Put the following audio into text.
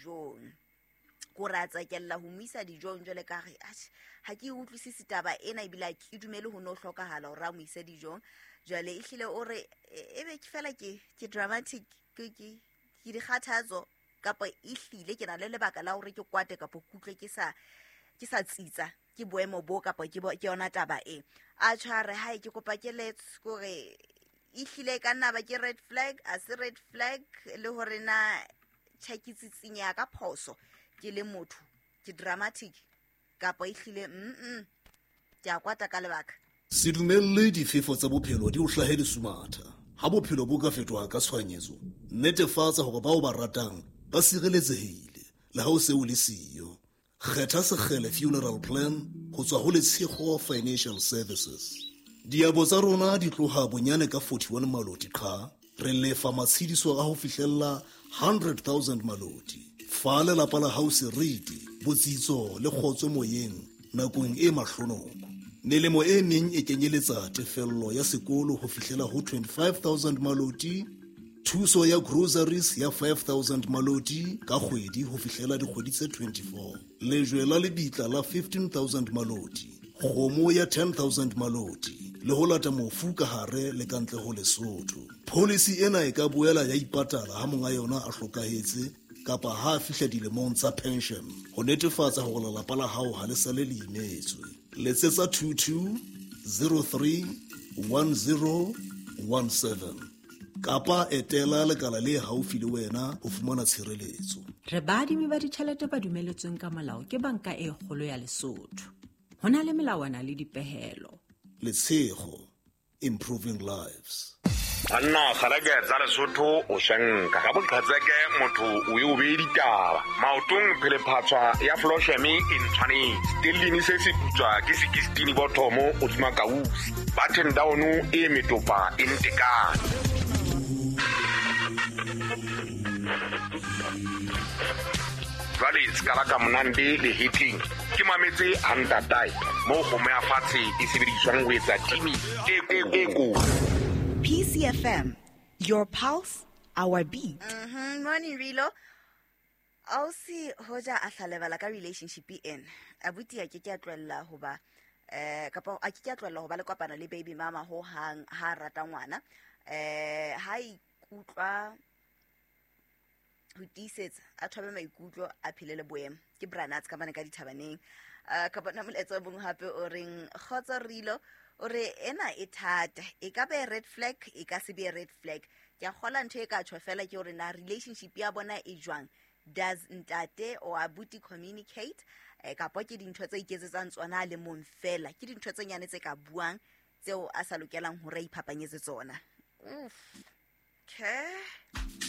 dijong. Ko re a tsekella ho mo isa dijong jwale ka re atjhe, ha ke e utlwisise taba ena ebile ha ke dumele ho no hlokahala hore a mo ise dijong. Jwale ehlile o re ebe ke fela ke dramatic, ke dikgathatso kapa ehlile ke na le lebaka la hore ke kwate kapa ke utlwe ke sa tsitsa ke boemo bo kapa ke yona taba e. A tshware hae ke kopa keletso kore ehlile e ka nna ba ke red flag, a se red flag, le hore na tjhe ke tsitsinya ka phoso ke le motho, ke dramatic kapa ehlile ke a kwata ka lebaka. Se dumelle difefo tsa bophelo di o hlahe lesumatha. Ha bophelo bo ka fetoha ka tshohanyetso, netefatsa hore bao ba ratang ba sireletsehile le ha o se o le siyo. Kgetha Sekgele Funeral Plan ho tswa ho Letshego Financial Services. Diabo tsa rona di tloha bonyane ka 41 maloti qha. Re lefa matshediso a ho fihlella 100,000 maloti. Fa lelapa la hao seriti, botsitso le kgotso moyeng nakong e mahlonoko. Melemo e meng e kenyeletsa tefello ya sekolo ho fihlela ho 25,000 maloti, thuso ya groceries ya 5,000 maloti ka kgwedi ho fihlela dikgwedi tse 24, lejwe la lebitla la 15,000 maloti, kgomo ya 10,000 maloti le ho lata mofu ka hare le ka ntle ho Lesotho. Policy ena e ka boela ya ipatala ha monga yona a hlokahetse kapa ha a fihla dilemong tsa pension ho netefatsa hore lelapa la hao ha le sale le imetswe. Letsetsa 22 03 10 17 kapa etela lekala le haufi le wena ho fumana tshireletso. Re baadimi ba ditjhelete ba dumeletsweng ka molao ke Banka e Kgolo ya Lesotho. Ho na le melawana le dipehelo. Letshego, improving lives. Banna kgaleke tsa Lesotho o shenka ka boqhetseke, motho o e o bee ditaba maotong, phelephatswa ya flosheme e ntshwanetse stellini se se putswa ke sekistini bothomo godima kausi button down e metopa e ntekane. Jwale sekala ka monande le hitling ke mametse hantatae moo kgomo ya fatshe e sebediswang ho etsa timi e kotsi. PCFM, your pulse, our beat. Morning Rilo. Ausi hoja a hlalebala ka relationship ena. Abuti a ke ke a tlohella hoba kapa a ke ke a tlohella ho ba le kopano le baby mama ho hang ha rata ngwana. Ha ikutlwa ho tiisetsa a thobe maikutlo a phele le boemo ke branats ka mane ka dithabaneng. Ka bona molaetsa o bong hape o reng kgotso Rilo, o re ena e thata, e ka be red flag, e ka se be red flag. Ke a kgola ntho e ka tjho fela ke hore na relationship ya bona e jwang, does ntate or abuti communicate, kapa ke dintho tse iketsetsang tsona a le mong fela, ke dintho tse nyane tse ka buang tseo a sa lokelang hore a iphapanyetse tsona. Uff. Okay.